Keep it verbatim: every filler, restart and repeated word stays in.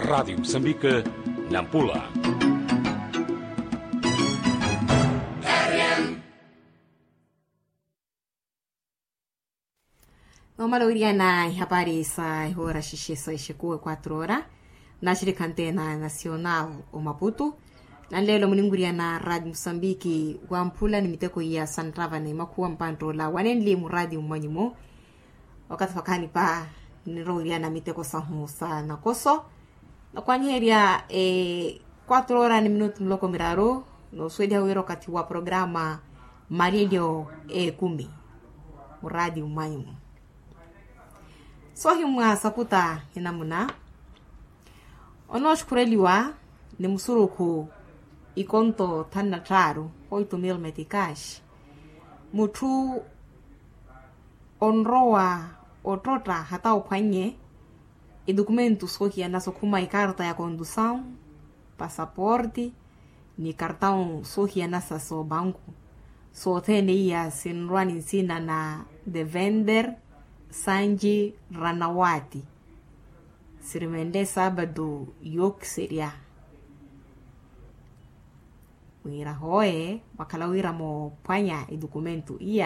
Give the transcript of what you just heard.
Radiyo musambika, nampula. Nomala owiriyana ihapari sa ihoora xixi sa ixekuwe quatro ora, naxirikha nteena nacional, omaputu. Nanleelo muninwiriyana radiyo musambiki wamphula ni miteko iya santtava ni makhuwa mpanttoola wanenli muradiyo mmanyu-mu. Wakathi wakhanipa ninrowa owiriyana miteko sahu sa nakoso. Nakwanyiherya quatro ora ni minutu miloko miraru, noosuweliha wira okathi wa programa malilyo ekumi muradiyo mmanyu-mu. Soohimwa sakuta hinamuna onooxukhureliwa ni musurukhu ikonto thanu na tthaaru, oito mil metikaxi. Mutthu onrowa ottotta hata ophwannye idokumento soohiyanasa okhuma ikarta ya kondusawu, pasaporti ni kartawu soohiyanasa soobanku. Sothene iya sinrwa ni nsina na devender sanji ranawati. Sirimenle saabado yookiserya wira hooye mwakhala wira moophwanya idokumento iya.